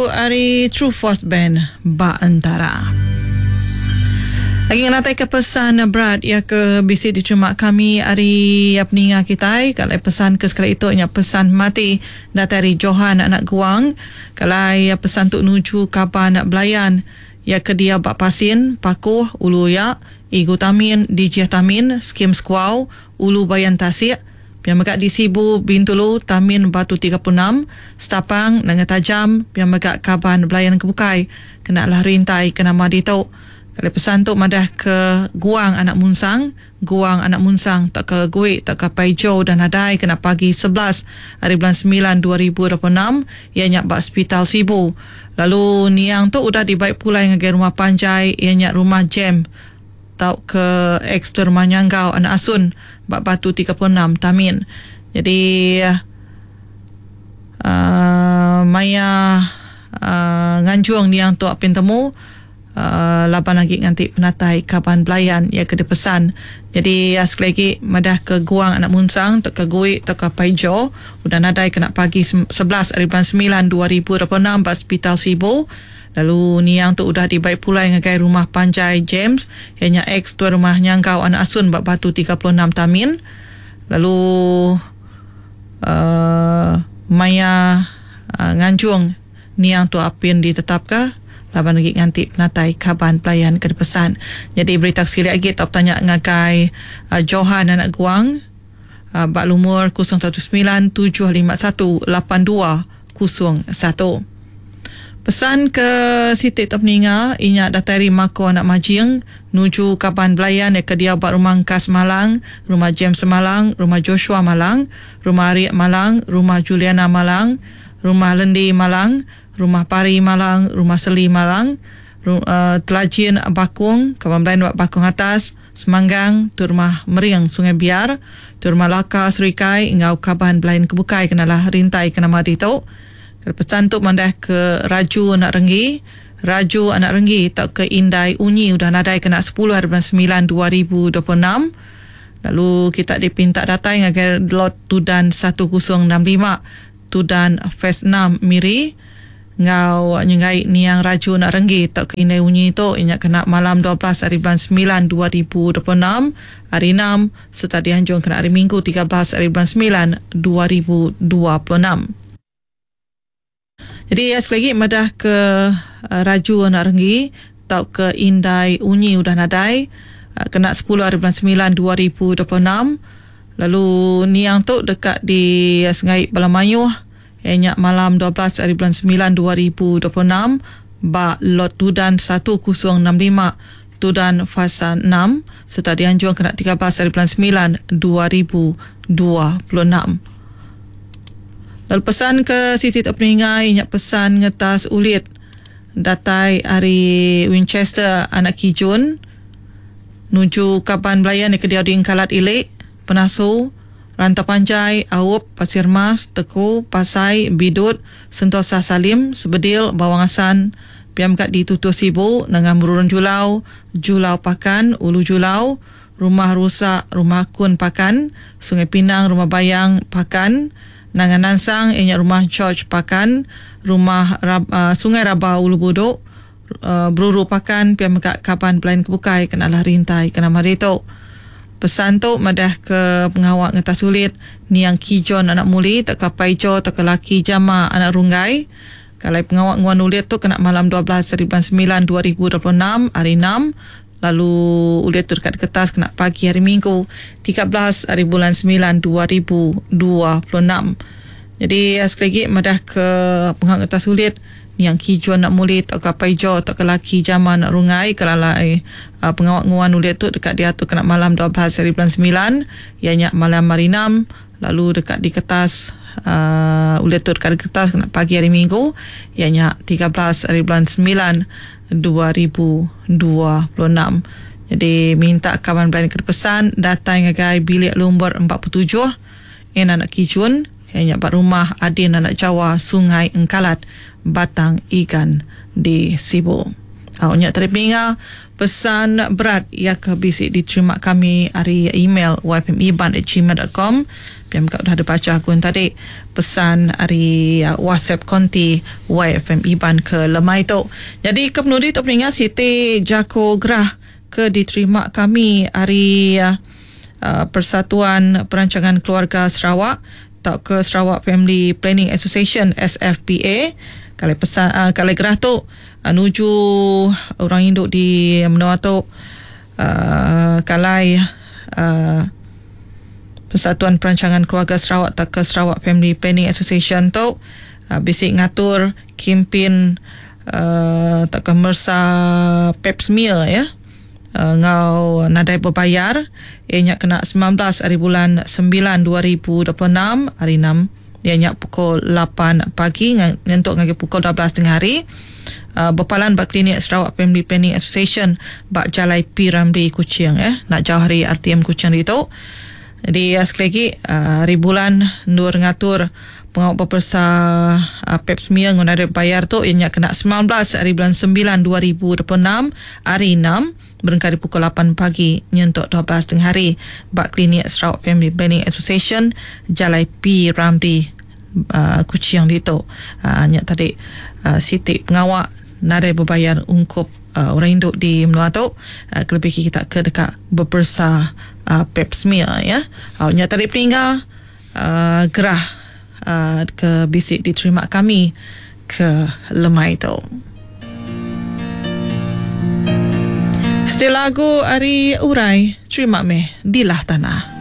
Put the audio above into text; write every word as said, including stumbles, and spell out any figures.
Ari True Force Band ba entara. Lagi ngenatai ke pesan berat ya ke bisi diterima kami ari peninga kitai. Kalau pesan ke sekali itu nya pesan mati datai ari Johan anak Guang. Kalau pesan tu nuju kaban belayan ya ke dia ba Pasin, Pakuh, Ulu Ya, Igu Tamin, Dijih Tamin, Skim Sekuau, Ulu Bayan Tasik, pia mega di Sibu, Bintulu, Tamin Batu tiga puluh enam, Setapang, Nanga Tajam, pia mega kaban belayan kebukai kena lah rintai ke nama ditu. Kalau pesan tu madah ke Guang anak Munsang, Guang anak Munsang tak ke Gui tak ke Paijo dan nadai kena pagi sebelas hari bulan sembilan dua ribu dua puluh enam ia nya ba Hospital Sibu. Lalu niang tu udah dibaik pulai ngagai rumah panjai ia nya rumah Jem tau ke ex tu rumah Nyanggau anak Asun bak Batu tiga puluh enam Tamin. Jadi uh, maya uh, nganjung niang tu apin temu uh, laban lagi nganti penatai kaban belayan ia ke dipesan. Jadi uh, sekali lagi madah ke Guang anak Munsang tok ke Gui tok ke Paijo udah nadai kena pagi sebelas hari bulan sembilan dua ribu dua puluh enam ba Hospital Sibu. Lalu niang tu udah dibaik pulai ngagai rumah panjai James ianya ex tuan rumah Nyanggau anak Asun ba Batu tiga puluh enam Tamin. Lalu uh, maya uh, nganjung niang tu apin ditetapka laban lagi nganti penatai kaban pelayan ke dipesan. Jadi berita silik lagi tau tanya ngagai uh, Johan anak Guang uh, bak lumur kosong satu sembilan tujuh lima satu lapan dua kosong satu. Pesan ke Siti Tok Peninga inya datai ari Mako anak Majing nuju kaban belayan ke dia ba rumah Kas Malang, rumah James Malang, rumah Joshua Malang, rumah Ariek Malang, rumah Juliana Malang, rumah Lendi Malang, rumah Pari Malang, rumah Seli Malang, ru, uh, Telajin Bakung, kaban belayan ba Bakung Atas, Semanggang, tu rumah Mering Sungai Biar, tu rumah Laka Serikai ngau kaban belayan kebukai kenalah rintai ke nama ditu. Pesan tu mandah ke Raju anak Renggi, Raju anak Renggi tak ke Indai Unyi udah nadai kena sepuluh hari bulan sembilan dua ribu dua puluh enam. Lalu kita dipinta datai ngagai lot Tudan satu kosong enam lima Tudan Phase enam Miri ngau nyengai niang Raju anak Renggi tak ke Indai Unyi tu inya kena malam dua belas hari bulan sembilan dua ribu dua puluh enam hari enam serta dianjung kena hari Minggu tiga belas hari bulan sembilan dua ribu dua puluh enam. Jadi ya, sekali lagi madah ke uh, Raju anak Renggi tau ke Indai Unyi udah nadai uh, kena sepuluh hari bulan sembilan dua ribu dua puluh enam. Lalu niang tu dekat di uh, Sungai Balamayuh ianya malam dua belas hari bulan sembilan dua ribu dua puluh enam ba lot Tudan satu kosong enam lima Tudan Fasa enam serta dianjung kena tiga belas hari bulan sembilan dua ribu dua puluh enam. Lalu pesan ke Siti Tok Peningai inyak pesan ngetas ulit datai ari Winchester anak Kijun nuju kaban belayan ke dia di Engkalat Ilik, Penasu, Rantau Panjai, Aup, Pasir Mas, Teku, Pasai, Bidut, Sentosa Salim, Sebedil, Bawang Asan, Piam kat di Tutuh Sibu, Nengah Merurun Julau, Julau Pakan, Ulu Julau, Rumah Rusak, Rumah Kun Pakan, Sungai Pinang, Rumah Bayang Pakan, Nangan Nansang, ianya rumah George Pakan, rumah Rab, uh, Sungai Raba Ulu Buduk, uh, Beruru Pakan, piam kat kaban pelayan kebukai kenalah rintai kena mari tu. Pesan tu madah ke pengawak ngetas sulit niang Kijon anak Muli, tak ke Paijo, tak ke laki Jama anak Runggai. Kalau pengawak nguan ulit tu kena malam dua belas hari bulan sembilan dua ribu dua puluh enam hari enam. Lalu ulit tu dekat kertas kena pagi hari Minggu tiga belas hari bulan sembilan dua ribu dua puluh enam. Jadi sekali lagi madah ke penghak kertas ulit yang Kijuan nak muli tak ke Paijo tak ke laki Jama nak Rungai kelalai uh, pengawak nguan ulit tu dekat dia tu kena malam dua belas hari bulan sembilan ianya malam hari enam. Lalu dekat di kertas uh, ulit tu dekat di kertas kena pagi hari Minggu ianya tiga belas hari bulan sembilan dua ribu dua puluh enam. Jadi minta kawan belayan kepesan datang ngagai bilik lumbar empat puluh tujuh en anak Kijun ianya bak rumah Adin anak Jawa Sungai Engkalat Batang Igan di Sibu. Au nya tadi peninga pesan berat iya ke bisi diterima kami ari email yfmiban at gmail dot com. Pia mega udah dibaca aku tadi pesan ari WhatsApp konti Y F M Iban ke lemai tu. Jadi ke penudi tu peninga siti jako gerah ke diterima kami ari uh, Persatuan Perancangan Keluarga Sarawak atau ke Sarawak Family Planning Association S F P A. Kalau pesan, uh, kalau gerah tu uh, nuju orang induk di menua tu, uh, kalai, uh, Persatuan Perancangan Keluarga Sarawak atau ke Sarawak Family Planning Association tu, uh, bisik ngatur kempen, uh, atau ke mersa pap smear ya. Uh, ngau nadai berbayar ianya kena sembilan belas hari bulan sembilan dua ribu dua puluh enam hari enam ianya pukul lapan pagi nyentuk ngagai pukul dua belas tengah hari. Uh, berpalan ba klinik Sarawak Family Planning Association ba Jalai P Ramli Kuching ya, nak jauh hari R T M Kuching itu. Jadi uh, sekali lagi, uh, hari bulan nur ngatur pengawal pepersa, uh, pap smear ngau nadai bayar tu ianya kena sembilan belas hari bulan sembilan dua ribu dua puluh enam hari enam berengkari pukul lapan pagi nyentuk dua belas tengah hari ba klinik Sarawak Family Planning Association Jalai P Ramli, uh, Kuching ditu. Uh, nya tadi, uh, siti pengawal nadai berbayar ungkup, uh, orang induk di menua tu, uh, kelebih kita ke dekat berpersa, uh, pap smear ya. Uh, nya tadi peninggal, uh, gerah, uh, ke bisik diterima kami ke lemai tu. Setelah lagu ari Urai, terima meh dilah tanah.